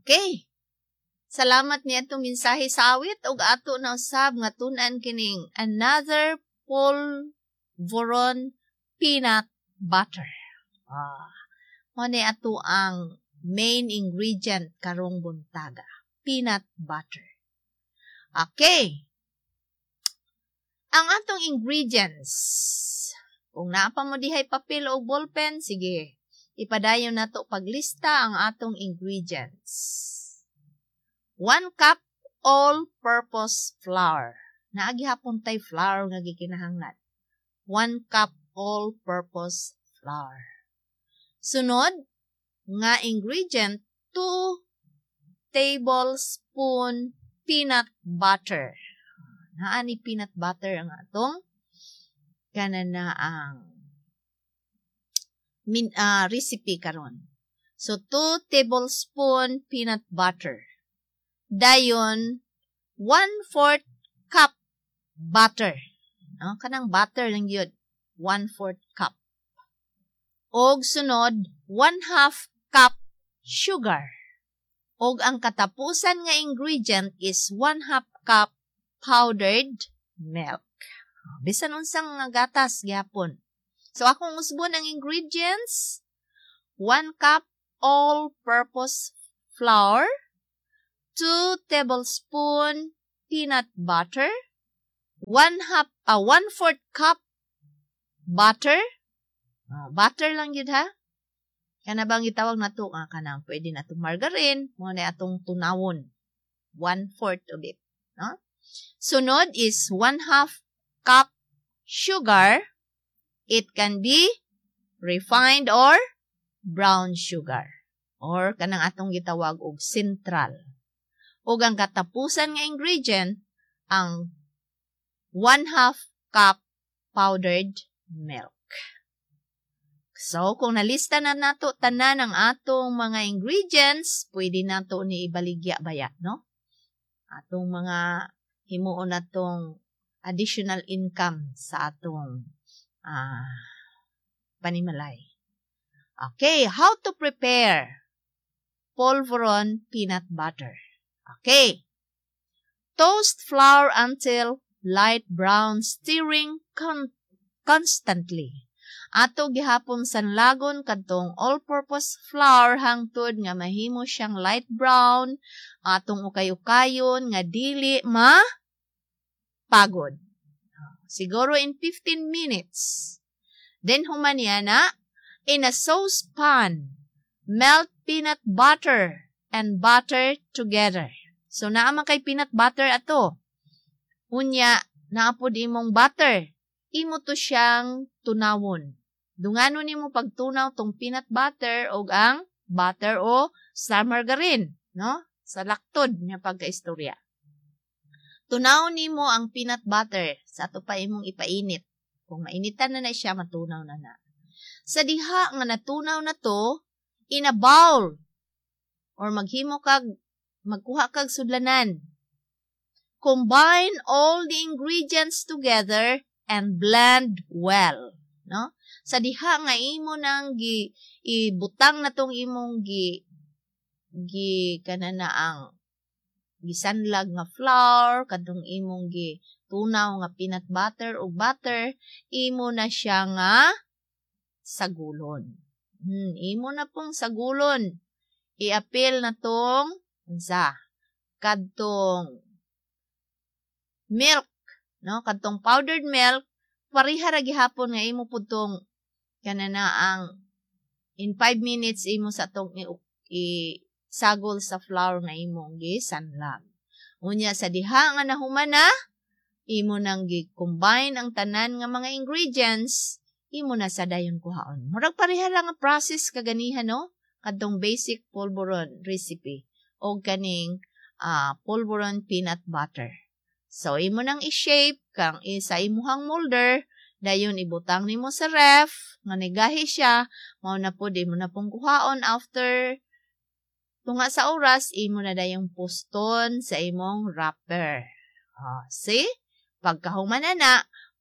Okay. Salamat niadtong mensahe sa awit ug ato na usab nga tun-an kining another polvoron peanut butter. Mao ni ato ang main ingredient karong buntaga, peanut butter. Okay. Ang atong ingredients, kung naa pa mo dihay papel o ballpen, sige, ipadayon nato paglista ang atong ingredients. 1 cup all-purpose flour. Naa gihapon tay flour nga gikinahanglan. 1 cup all-purpose flour. Sunod nga ingredient, 2 tablespoon peanut butter. Naa ni peanut butter ang atong kanana ang recipe karon. So 2 tablespoon peanut butter. Dayon 1/4 cup butter. No, kanang butter lang gyud, 1/4 cup. Og sunod, 1/2 cup sugar. Og ang katapusan nga ingredient is 1/2 cup powdered milk. Bisan unsang nga gatas gihapon. So akong usbon ang ingredients: 1 cup all-purpose flour, 2 tablespoon peanut butter, 1/2, 1/4 cup butter. Oh, butter lang gyud ha. Kana bang gitawag nato nga kanang pwede na atong margarine, mao na atong tunawon. 1/4 of it, no? Sunod is 1/2 cup sugar. It can be refined or brown sugar or kanang atong gitawag og central. Ug ang katapusan nga ingredient ang 1/2 cup powdered milk. So, kung nalista na nato tanan ang atong mga ingredients, pwede nato ni ibaligya baya, no? Atong mga himuon natong additional income sa atong panimalay. Okay, how to prepare polvoron peanut butter. Okay. Toast flour until light brown, stirring constantly. Ato gihapon sanlagon kadtong all-purpose flour hangtod nga mahimo siyang light brown, atong ukay-ukayon nga dili ma pagod. Siguro in 15 minutes. Then human niya na, in a saucepan, melt peanut butter and butter together. So naa man kay peanut butter ato. Unya, naa pod imong butter. Imo to siyang tunawon. Dungano nimo pagtunaw tong peanut butter og ang butter o sa margarine, no? Sa laktod nga pagkaistorya. Tunaw nimo ang peanut butter sa ato pa imong ipainit. Kung mainitan na na siya, matunaw na na. Sa diha nga natunaw na to, in a bowl or maghimo kag magkuha kag sudlanan. Combine all the ingredients together and blend well, no? Sa diha nga imo nang gi ibutang na tong imong gi gi kanana ang gisanlag nga flour kadtong imong gi tunaw nga peanut butter ug butter, imo na siya nga sagulon. Imo na pong sagulon. Iapil na tong unsa kadtong milk, no? Kadtong powdered milk, pareha ra gihapon nga imo pud tong kanana ang in 5 minutes imo sa tong i sagol sa flour nga imong gisanlag. Unya sa diha nga nahuman na, imo nang gi-combine ang tanan nga mga ingredients, imo na sa dayon kuhaon. Murag pareha lang ang process kaganiha, no? Kadtong basic polvoron recipe o kaning polvoron peanut butter. So, imo nang i-shape kang sa imuhang molder, dayon ibutang nimo sa ref, nga nigahi siya, mao na pod imo na pong kuhaon after tunga sa oras, imo na dayong puston sa imong wrapper. Oh, see? Pagkahuman na na,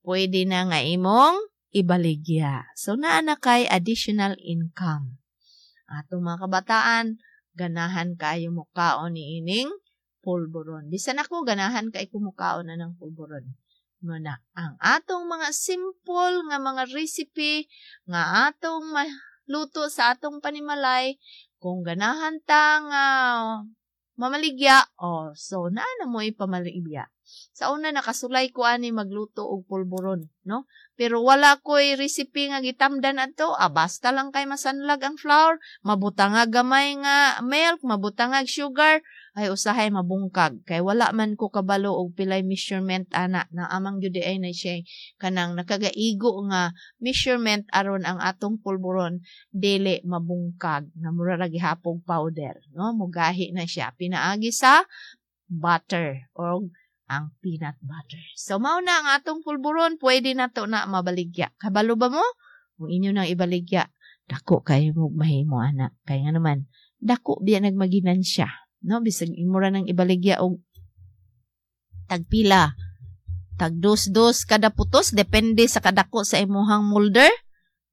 pwede na nga imong ibaligya. So, naa na kay additional income. Atong mga kabataan, Ganahan kaayo mokaon niining pulburon. Bisan ako, ganahan kay ko mokaon anang pulburon. Muna ang atong mga simple nga mga recipe nga atong maluto sa atong panimalay. Kung ganahan ta nga mamaligya, oh, so naa na mo ipamaligya. Sa una, nakasulay ko ani magluto og pulburon, no? Pero wala ko'y recipe nga gitamdan adto. Ah, basta lang kay masanlag ang flour, mabutangag gamay nga milk, mabutangag sugar, ay usahay mabungkag kay wala man ko kabalo og pilay measurement ana. Na amang gyud ay na siya kanang nakagaigo nga measurement aron ang atong pulburon dili mabungkag na mura ra gihapog powder, no? Mugahi na siya pinaagi sa butter or ang peanut butter. So mao na ang atong pulburon, pwede na to na mabaligya. Kabalo ba mo? Kung inyo nang ibaligya, dako kayo mo mahimo ana. Kay nga naman, dako biya nagmaginansya, no? Bisag imo ra nang ibaligya og tagpila, tag dos-dos kada putos, depende sa kadako sa imuhang molder.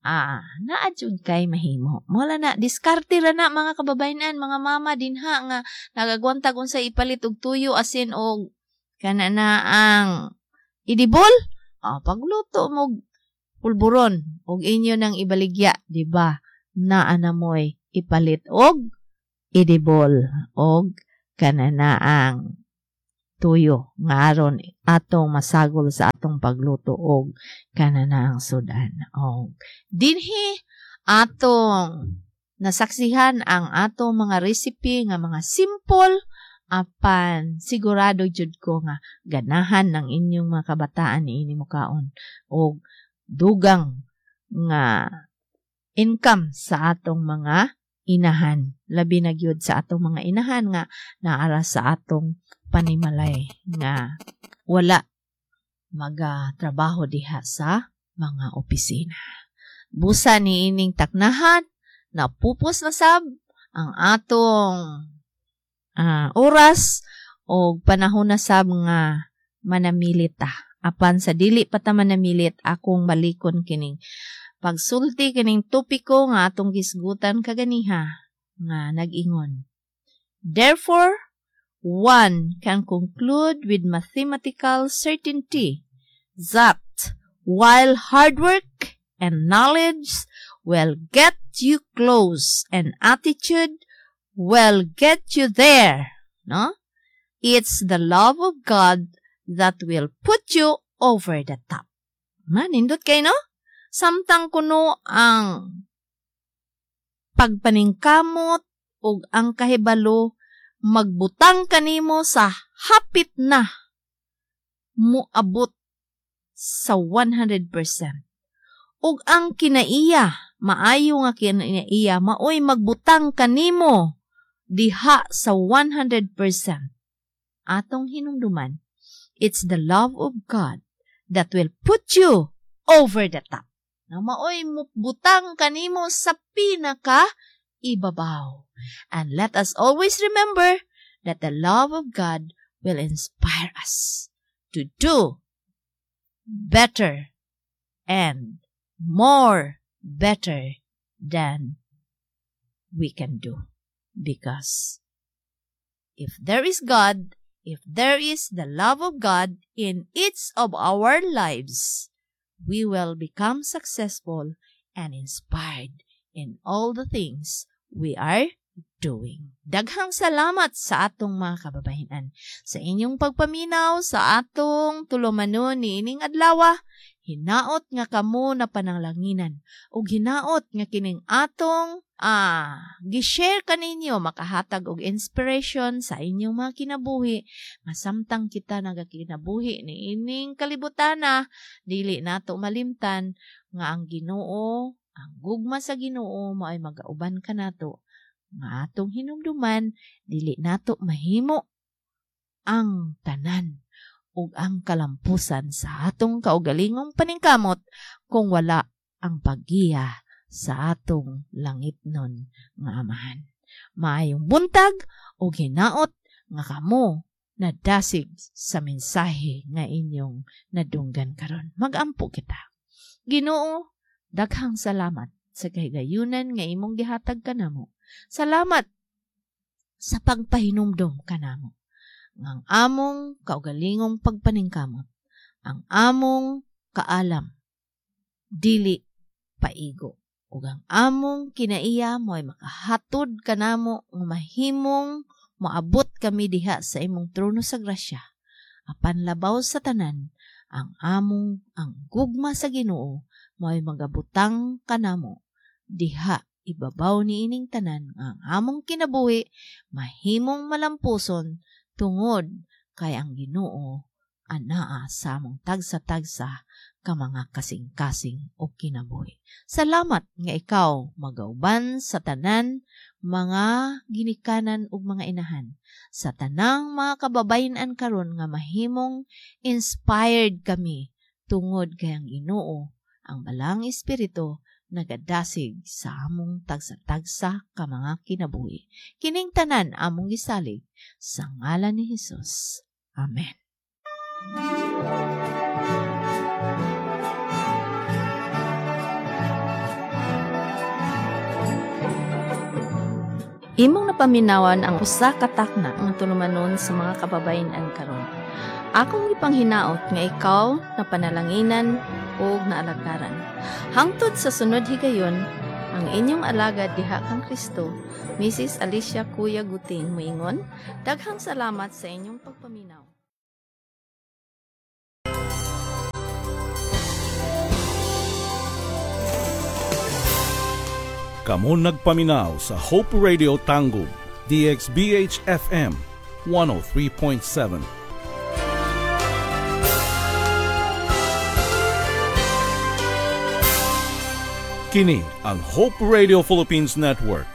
Ah, naa jud kay mahimo. Mola na, diskarte ra na, mga kababayenan, mga mama dinha nga nagagwantag unsa ipalit og tuyo, asin og kana na ang idibol. Ah, pagluto mo pulburon og inyo nang ibaligya, di ba? Naa na mo'y ipalit og idibol og kana na ang tuyo nga aron atong masagol sa atong pagluto og kana na ang sudan. Og dinhi atong nasaksihan ang atong mga recipe nga mga simple, apan sigurado jud ko nga ganahan ng inyong mga kabataan niini mokaon og dugang nga income sa atong mga inahan, labi na gyud sa atong mga inahan nga naara sa atong panimalay nga wala magatrabaho diha sa mga opisina. Busa niining taknahan, napupos na sab ang atong oras o panahon na sab nga manamilit ta. Apan sa dili pa ta manamilit, akong balikon kining pagsulti kining topiko nga atong gisgutan kaganiha nga nag-ingon: "Therefore, one can conclude with mathematical certainty that while hard work and knowledge will get you close and attitude will get you there, no? It's the love of God that will put you over the top." Manindot kay, no? Samtang kuno ang pagpaningkamot ug ang kahibalo magbutang kanimo sa hapit na muabot sa 100%. Ug ang kinaiya, maayo nga kinaiya, maoy magbutang kanimo diha sa 100%. Atong hinumduman, it's the love of God that will put you over the top. Na maoy mubutang kanimo sa pinaka ibabaw. And let us always remember that the love of God will inspire us to do better and more better than we can do. Because if there is God, if there is the love of God in each of our lives, we will become successful and inspired in all the things we are doing. Daghang salamat sa atong mga kababayenan sa inyong pagpaminaw sa atong tulumanon niining adlaw. Hinaot nga kamo na pananglanginan ug hinaot nga kining atong gi-share kaninyo makahatag og inspiration sa inyong mga kinabuhi nga samtang kita nagakinabuhi niining kalibutana, dili nato malimtan nga ang Ginoo, ang gugma sa Ginoo mao'y magauban kanato nga atong hinumduman, dili nato mahimo ang tanan ug ang kalampusan sa atong kaugalingong paningkamot kung wala ang paggiya sa atong langitnon nga Amahan. Maayong buntag ug hinaot nga kamo nadasig sa mensahe nga inyong nadunggan karon. Magampo kita. Ginoo, daghang salamat sa kahigayunan nga imong gihatag kanamo. Salamat. sa pagpahinumdom kanamo. Ang among kaugalingong pagpaningkamot, ang among kaalam, dili paigo. Ug ang among kinaiya mo'y makahatod kanamo nga mahimong moabot kami diha sa imong trono sa grasya. Apan labaw sa tanan, ang among ang gugma sa Ginoo mo'y magabutang kanamo diha ibabaw niining tanan ang among kinabuhi mahimong malampuson tungod kay ang Ginoo anaa sa among tagsa-tagsa ka mga kasing-kasing o kinabuhi. Salamat nga ikaw magauban sa tanan mga ginikanan ug mga inahan, sa tanang mga kababayen-an karon nga mahimong inspired kami tungod kay ang Ginoo, ang Balang Espiritu, nagadasig sa among tagsa-tagsa ka mga kinabuhi. Kining tanan among gisalig sa ngalan ni Hesus. Amen. Imong napaminawan ang usa ka takna nga tulumanon sa mga kababayen-an karon. Akong gipanghinaot nga ikaw napanalanginan ug naalagaran. Hangtod sa sunod higayon, ang inyong alagad diha kang Kristo, Mrs. Alicia Kuya Guting, muingon, daghang salamat sa inyong pagpaminaw. Kamo nagpaminaw sa Hope Radio Tangub, DXBH FM 103.7. Kini ang Hope Radio Philippines Network,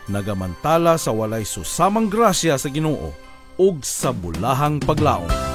nagamantala sa walay susamang grasya sa Ginoo ug sa bulahang paglaom.